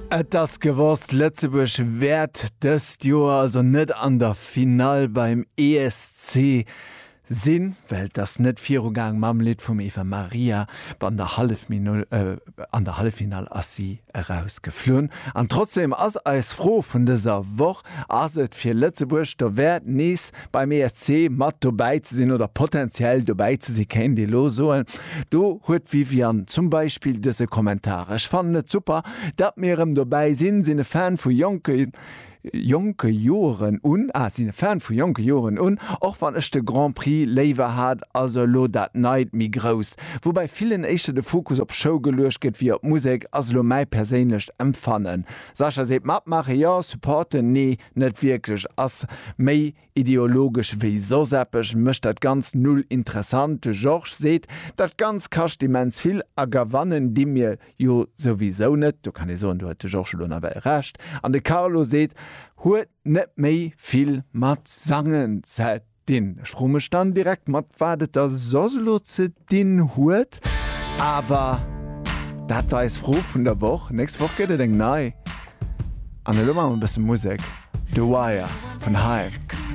Et ass gewosst, Lëtzebuerg wäert dëst Joer also net an der Finall beim ESC sinn, well et ass net virugaang mam Lidd vum Eva Maria. An der an der Halleffinall ass si erausgeflunn. An trotzdeem ass eis Fro vun dëser Woch, Ass et fir Lëtzebuerg dowäert nees beim ESC mat dobäi ze sinn oder potenziell dobäi ze sinn, kéint ee lo soen. Do huet d'Viviane zum Beispill dëse Kommentar, Ech fannen et super, datt mir erëm dobäi sinn, sinn e Fan vu jonke jonke Joeren un, ah, sinn e Fan vu jonke Joeren un, och wann ech de Grand Prix léiwer hat, also elo dat neit méi grousst, wou bei villen éischter de Fokus op Show geluecht gëtt wéi op Musek, ass elo mäi perséinlecht Empfannen. Sascha seet, Matmaache jo, supporten nee. Net wierklech, ass méi ideologesch wéi soss eppes, mécht dat Ganzt null interessant. De Georges seet, dat Ganzt kascht immens vill a gewannen di mir jo souwisou net. Do kann ee soen, do huet de Georges elo nawell Recht. An de Carlo seet, huet net méi vill mat Sangen ze dinn. Ech froe mech dann direkt, mat wat et da soss elo ze dinn huet. Awer dat war eis Fro vun der Woch. Nächst Woch gëtt et eng nei. An elo maache mer e bësse Musek. The Wire vun Haim.